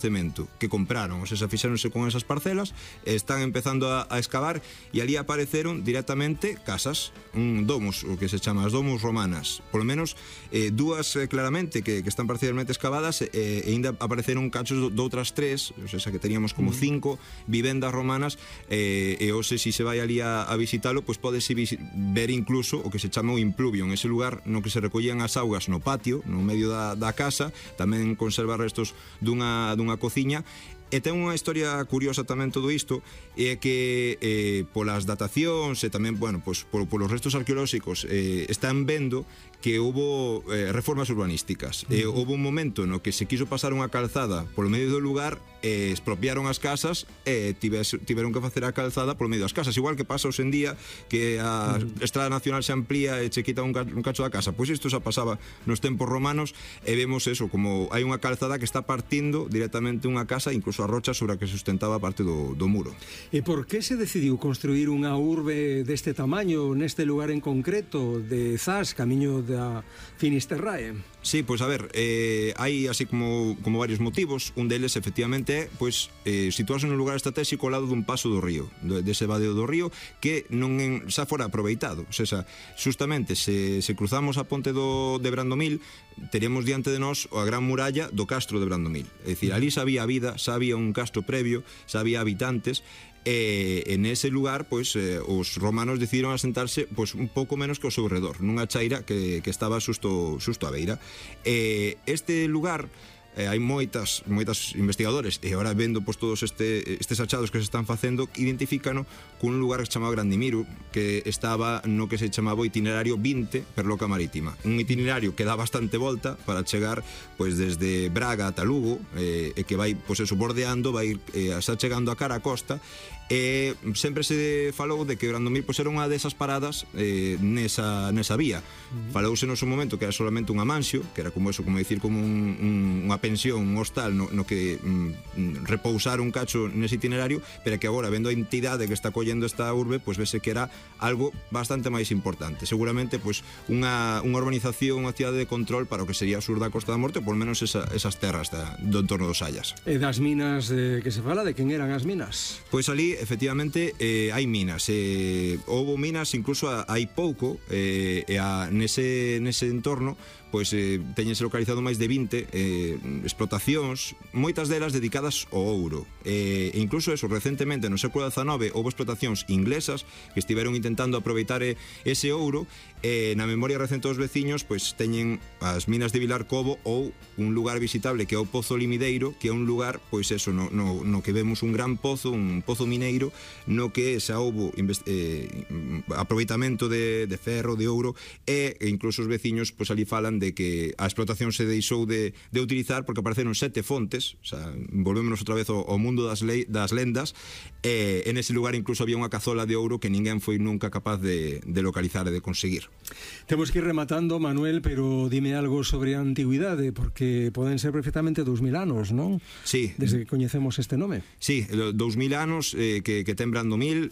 cemento que compraron, ou sea, fixéronse con esas parcelas, están empezando a excavar e ali apareceron directamente casas, domos, o que se chama as domos romanas, polo menos dúas claramente que están parcialmente excavadas, e ainda apareceron cachos de outras tres, ou sea, que teníamos como 5 vivendas romanas, e hoxe, se se vai ali a visitalo, pois podes ver incluso o que se chama o impluvium, ese lugar no que se recollían as augas no patio, no medio da casa, tamén conserva restos dunha cociña. E ten unha historia curiosa tamén todo isto, é que polas datacións e tamén, bueno, pois polos restos arqueolóxicos están vendo que houbo reformas urbanísticas. Houbo un momento no que se quiso pasar unha calzada polo medio do lugar, expropiaron as casas e tiveron que facer a calzada polo medio das casas, igual que pasa hoxe en día que a Estrada Nacional se amplía e che quita un cacho da casa. Pois isto xa pasaba nos tempos romanos e vemos eso, como hai unha calzada que está partindo directamente unha casa, incluso a rocha sobre a que sustentaba parte do muro. E por que se decidiu construir unha urbe deste tamaño neste lugar en concreto de Zas, camiño da Finisterrae? Sí, pois a ver, hai así como varios motivos. Un deles efectivamente é pois situarse nun lugar estratégico ao lado dun paso do río, dese vadeo do río que non xa fora aproveitado. O sea, justamente se cruzamos a ponte de Brandomil, teríamos diante de nós a gran muralla do castro de Brandomil. É dicir, ali xa había vida, xa había un castro previo, xa había habitantes, e en ese lugar pois os romanos decidiron asentarse pois un pouco menos que ao seu redor, nunha chaira que estaba xusto á beira. Este lugar hai moitas investigadores, e agora vendo pois todos estes achados que se están facendo, identifícano cun lugar que se chamaba Grandimiru, que estaba no que se chamaba o itinerario 20 per Loca Marítima, un itinerario que dá bastante volta para chegar pois desde Braga ata Lugo, e que vai pois eso bordeando, vai xa chegando a cara a costa. E sempre se falou de que Brandomil pois era unha desas paradas nesa vía. Falouse no seu momento que era solamente un amansio, que era como eso, como dicir, como unha pensión, un hostal no que repousar un cacho nese itinerario, pero que agora, vendo a entidade que está collendo esta urbe, pois vese que era algo bastante máis importante. Seguramente pois unha urbanización, unha cidade de control para o que sería o sur da Costa da Morte, por menos esas terras do entorno dos Sallas. E das minas que se fala, de quen eran as minas? Pois ali efectivamente hai minas, houbo minas incluso hai pouco, nese entorno pois teñense localizado máis de 20 explotacións, moitas delas dedicadas ao ouro, e incluso eso, recentemente no século XIX houve explotacións inglesas que estiveron intentando aproveitar ese ouro, e na memoria recente dos veciños pois teñen as minas de Vilar Cobo ou un lugar visitable que é o Pozo Limideiro, que é un lugar pois eso, no que vemos un gran pozo, un pozo mineiro, no que xa houbo aproveitamento de ferro, de ouro, e incluso os veciños pois ali falan de que a explotación se deixou de utilizar porque apareceron 7 fontes. O sea, volvémonos outra vez ao mundo das lendas, e en ese lugar incluso había unha cazola de ouro que ninguén foi nunca capaz de localizar e de conseguir. Temos que ir rematando, Manuel, pero dime algo sobre a antigüidade, porque poden ser perfectamente 2000 anos, non? Sí. Desde que coñecemos este nome. Sí, 2000 anos que ten Brandomil,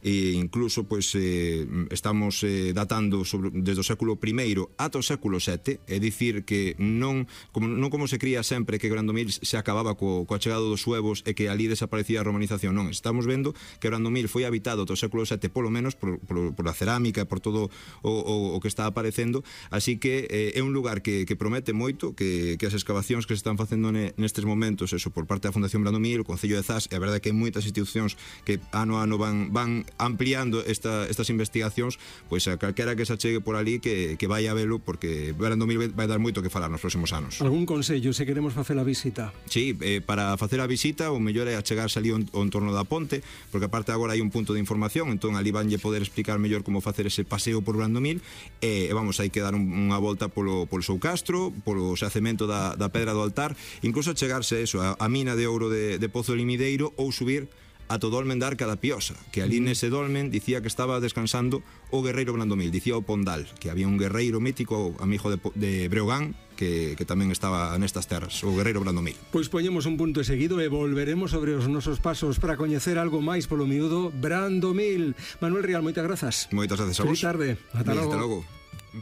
incluso pois estamos datando desde o século I ata o século VII, é dicir que non como se cría sempre que Brandomil se acababa coa chegada dos suevos e que ali desaparecía a romanización, non, estamos vendo que Brandomil foi habitado ata o século VII polo menos por a cerámica e por todo o que está aparecendo, así que é un lugar que promete moito, que as excavacións que se están facendo nestes momentos, eso por parte da Fundación Brandomil, o Concello de Zas, e a verdade que hai moitas institucións que ano a ano van ampliando estas investigacións, pois a calquera que se achegue por ali que vai a velo, porque Brandomil vai dar moito que falar nos próximos anos. Algún consello se queremos facer a visita? Sí, para facer a visita o mellor é achegarse ali ao entorno da ponte, porque aparte agora hai un punto de información, entón ali vanlle poder explicar mellor como facer ese paseo por Brandomil, e vamos, hai que dar unha volta polo seu castro, polo xacemento da pedra do altar, incluso achegarse a mina de ouro de Pozo Limideiro, ou subir a todo dolmen da Arca da Piosa, que ali nese dolmen dicía que estaba descansando o guerreiro Brandomil, dicía o Pondal, que había un guerreiro mítico, amigo de Breogán, que tamén estaba nestas terras, o guerreiro Brandomil. Pois poñemos un punto seguido e volveremos sobre os nosos pasos para coñecer algo máis polo miúdo Brandomil. Manuel Rial, moitas grazas. Moitas grazas a vos. Feliz tarde. Ata logo. Ata logo.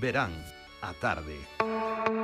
Verán a tarde.